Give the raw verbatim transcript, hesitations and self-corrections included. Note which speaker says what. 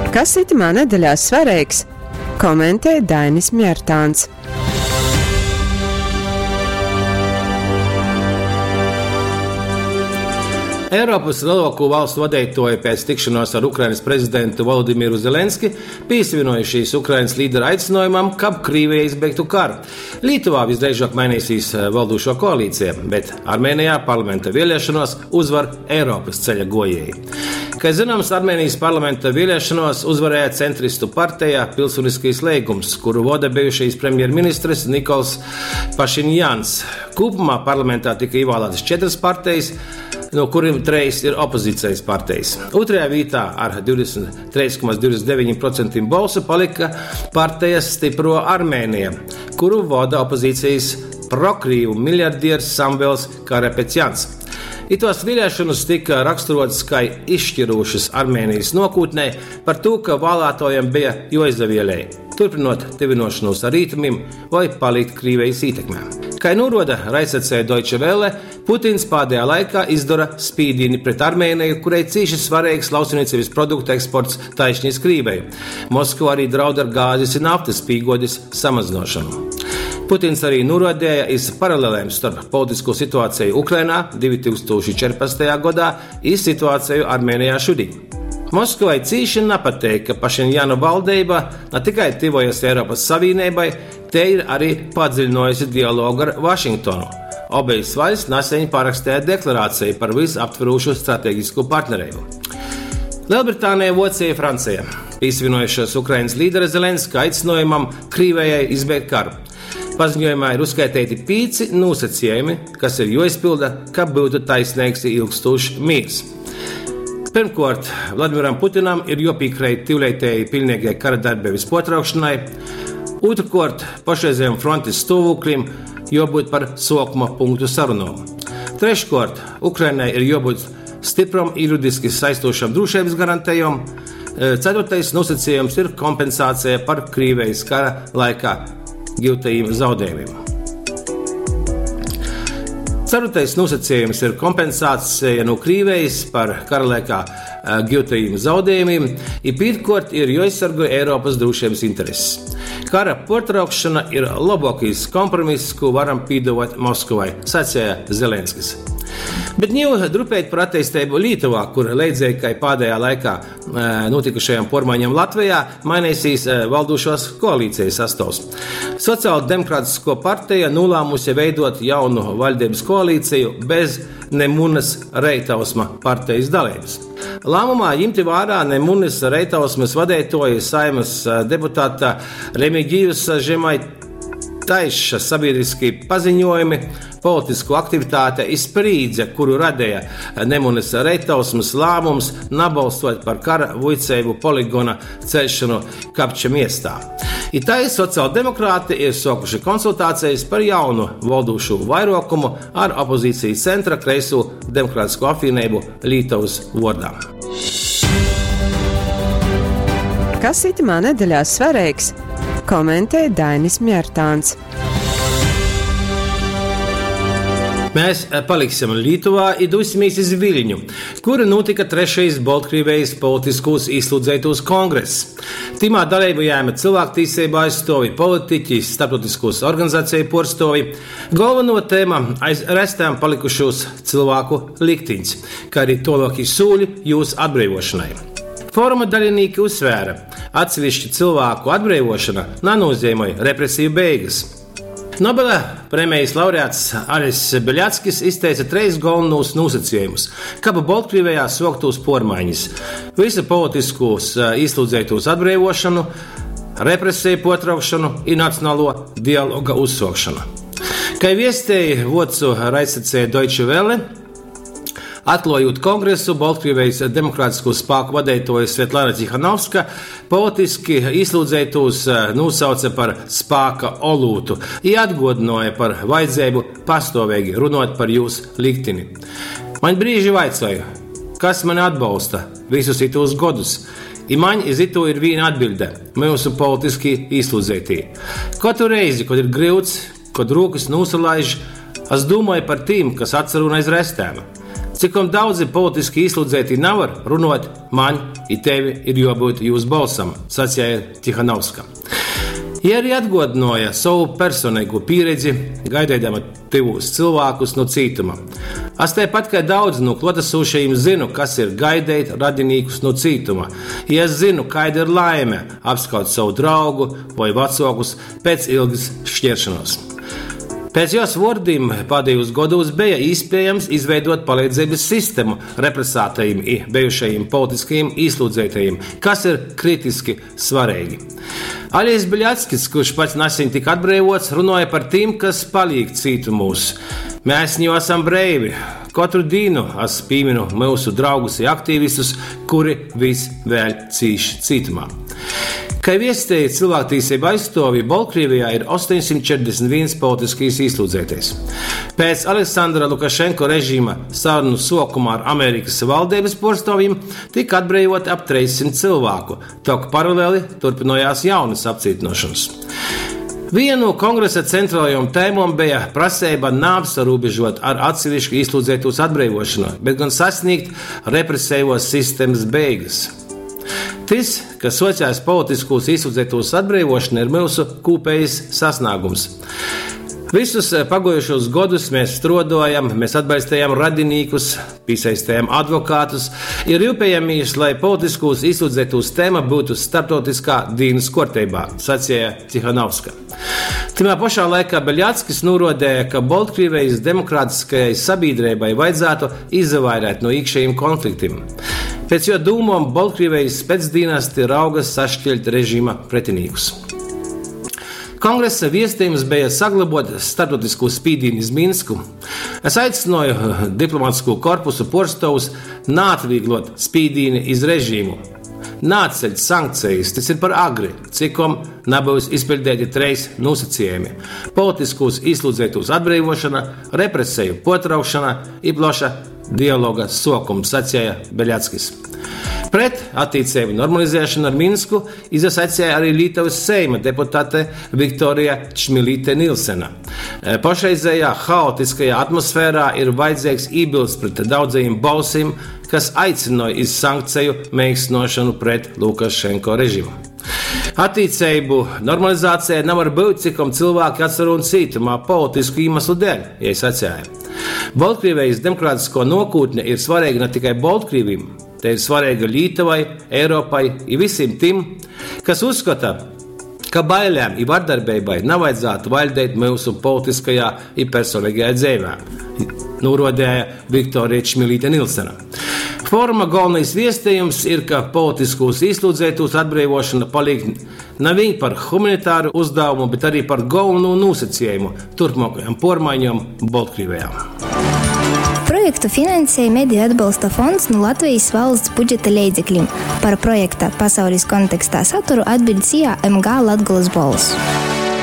Speaker 1: Kas itymā nedeļā svareigs, komentej Dainis Mjartāns.
Speaker 2: Eiropas lielāko valstu vadeitoji pēc tikšanās ar Ukrainas prezidentu Volodimiru Zelenski pīsavinojušies Ukrainas līdera aicinājumam, kab Krīvija izbeigtu karu. Lietuvā visdrīzāk mainīsies valdošo koalīcija, bet Armēnijā parlamenta vēlēšanos uzvar Eiropas ceļa gojēji. Kā zināms, Armēnijas parlamenta vēlēšanos uzvarēja centristu partija Pilsoniskais līgums, kuru vada bijušais premjerministrs Nikols Pašinjans. Kopumā parlamentā tika ievēlētas četras partijas, no kuriem treis ir opozīcijas partijas. Otrajā vietā ar divdesmit trīs komats divdesmit deviņi procenti balsu palika partija Stipro Armēnija, kuru vada opozīcijas prokrīvu miljardieris Samvels Karapetjans. Itos vēlēšanas tika raksturotas kā izšķirošas Armēnijas nākotnē par to, ka vēlētājiem bija jāizavēlē, turpinot tuvināšanos ar rietumiem vai palikt Krievijas ietekmē. Kā norāda raidsacijā Deutsche Welle, Putins pēdējā laikā izdara spīdīni pret Armēniju, kurai cīši svarīgs lauksaimniecības produktu eksports taišņi iz Krieviju. Moskva arī draud ar gāzes un naftas pīgodes samazināšanu. Putins arī norādīja iz paralelēm starp politisko situāciju Ukrainā divtūkstoši četrpadsmitajā gadā un situāciju Armēnijā šodien. Moskavai cīši nepatīk, ka Pašinjana valdība ne tikai tuvojas Eiropas Savienībai, te ir arī padziļinājusi dialogu ar Vašingtonu. Obejas valsts nesen parakstīja deklarāciju par visaptverošu strateģisko partnerību. Lielbritānija, Vācija, Francija pievienojušās Ukrainas līdera Zelenska aicinājumam Krievijai izbeigt karu. Paziņojumā ir uzskaitīti pieci nosacījumi, kas ir jāizpilda, kab būtu taisnīgs un ilgstošs miers. Pirmkārt, Vladimiram Putinam ir jāpiekrīt tūlītēji pilnīgai kara darbības potraukšanai. Otrkārt, pašreizējam frontes stāvoklim jābūt par sākuma punktu sarunām. Treškārt, Ukrainai ir jābūt stipram juridiski saistošam drošības garantējumam. Ceturtais nosacījums ir kompensācija par Krievijas kara laikā gūtajiem zaudējumiem. Ceturtais nosacījums ir kompensācija no Krievijas par kara laikā, eh, gūtajiem zaudējumiem, i pirmkārt ir jāaizsargā Eiropas drošības intereses. Kara pārtraukšana ir labākais kompromiss, ko varam piedāvāt Maskavai, sacīja Zelenskis. Bet nu drupēt par attīstību Lietuvā, kur leidzīgi kā pēdējā laikā, eh, notikušajām pormaiņām Latvijā, mainīsies, eh, valdošās koalīcijas sastāvs. Sociāldemokrātisko partija nolēmusi veidot jaunu valdības koalīciju bez Nemunas Reitausma partijas dalības. Lēmumā ņemti vērā Nemunas Reitausmas vadītoja Saimas, eh, deputāta Remigijus Žemaitaiša sabiedriski paziņojumi, politisko aktivitāte izsprīdze, kuru radīja Nemunas Reitausmas lēmums nabalstot par kara vuicēbu poligona celšanu Kapča miestā. Itāļu sociāldemokrāti ir sākuši konsultācijas par jaunu valdošo vairokumu ar opozīcijas centra kreiso demokrātisko apvienību Lietuvas vārdā.
Speaker 1: Kas itamā nedeļā svarīgs? Komentē Dainis Mjartāns.
Speaker 2: Mēs, eh, paliksim Lietuvā un dosimies iz Viļņu, kur notika trešais Baltkrievijas politiskos ieslodzītos kongress. Timā dalību ņēma cilvēktiesību aizstāvji, politiķi, starptautiskos organizāciju porstovi. Galveno tēma aiz restēm palikušos cilvēku likteņus, kā arī tolākie sūļi jūs atbrīvošanai. Foruma dalībnieki uzsvēra, atsevišķu cilvēku atbrīvošana nenozīmē represiju beigas. Nobela prēmijas laureāts Aris Beļatskis izteica treis galvenos nosacījumus, kā Baltkrievijā soktos pormaiņas: visu politiskos, eh, ieslodzītos atbrīvošanu, represiju potraukšanu un nacionālo dialoga uzsākšanu. Kā viestēja Vocu raidstacija Deutsche Welle, atklājot kongresu, Baltkrievijas demokrātisko spēku vadītāja Svetlana Cihanovska politiski ieslodzītos, eh, nosauca par spēka olūtu un atgādināja par vajadzību pastāvīgi runāt par jūsu likteni. Man brīži vaicoju, kas mani atbalsta visus itos godus? I man iz ito ir viena atbilde – mūsu politiski ieslodzītie. Katru reizi, kad ir grūts, kad rokas nosalaiž, es domāju par tiem, kas atcerun aiz restēm. Cikom daudzi politiski īslūdzeitī navar runuot, maņ i tevi ir juobyut jūs bolsam, saceja Tihanovska. Jei arī atguodynuoja sovu personeigū pīredzi, gaideidama tyvūs cylvākus nu cītuma. Es taipat kai daudzi nu kluotasūšajim zynu, kas ir gaideit radinīkus nu cītuma. I es zynu, kaida ir laime apskaut sovu draugu voi vacuokus pēc ilgys škieršonuos. Pēc jos vuordim pādejūs godūs beja īspiejams izveidot paleidzeibys sistemu represātajim i bejušajim politiskajim īslūdzeitajim, kas ir kritiski svareigi. Aļezs Beļackis, kurš pats naseņ tika atbreivots, runuoja par tim, kas palīk cītumūs. Mēs niu asam breivi. Kotru dīnu es pīminu myusu draugus i aktīvistus, kuri vys vēļ cīš cītumā. Kai viesteja cilvēktīsību aizstuovi, Boltkrīvijā ir ostoņsimt četrdesmit vīns politiskais īslūdzeitais. Pēc Aleksandra Lukašenko režīma sarunu suokuma ar Amerikys valdeibys puorstuovjim tika atbreivoti ap treissimt cylvāku, tok paraleli turpynojās jaunys apcītynuošonys. Viena no kongresa centrālajām tēmām bija prasība neapsarūbežot ar atsevišķu ieslodzītos atbrīvošanu, bet gan sasniegt represīvos sistēmas beigas. Tas, ka sociālās politiskos ieslodzītos atbrīvošana ir mūsu kopējs sasniegums. Visus paguojušos godus mēs strodojam, mēs atbalstījām radinīkus, piesaistījām advokātus, ir rūpējamies, lai politiskos ieslodzītos tēma būtu starptautiskā dienas kārtībā, sacīja Tihanovska. Timā pašā laikā Beļackis norodēja, ka Baltkrievijas demokrātiskajai sabiedrībai vajadzētu izvairēt no iekšējiem konfliktiem. Pēc jo dūmom Baltkrievijas specdīnesti raugas sašķeļt režīma pretinīkus. Kongresa viestījums bija saglabot starptautisko spīdīnu iz Minsku. Es aicināju diplomātisko korpusu porstovus naatvieglot spīdīni iz režīmu. Nāceļt sankcijas, tas ir par agri, cikom nebūs izpildīti treis nosacījumi – politiskos ieslodzītos atbrīvošana, represiju potraukšana i plaša dialoga sokums, sacīja Beļackis. Pret attiecību normalizēšanu ar Minsku izsacīja arī Lietuvas Seima deputāte Viktorija Čmilīte Nilsena. Pašreizējā haotiskajā atmosfērā ir vajadzīgs iebilst pret daudzajiem balsīm, kas aicināja iz sankciju mēģināšanu pret Lukašenko režīmu. Attiecību normalizācija nevar būt, cikom cilvēki atsarūn cietumā politisku iemeslu dēļ, ja sacīja. Baltkrievijas demokrātisko nokūtne ir svarīga ne tikai Baltkrievim, te ir svarīga Lietuvai, Eiropai i visiem tiem, kas uzskata, ka bailēm i vardarbībai nevajadzētu valdīt mūsu politiskajā i personīgajā dzīvē, norodēja Viktorija Čmilīte Nilsena. Foruma galvenais viestījums ir, ka politiskos ieslodzītos atbrīvošana paliek ne vien par humanitāru uzdevumu, bet arī par galveno nosacījumu turpmākajām pormaiņām Baltkrievijā.
Speaker 3: Projektu finansēja Mediju atbalsta fonds no Latvijas valsts budžeta leidzekļiem. Par projekta pasaules kontekstā saturu atbild S I A M G Latgolas Bolss.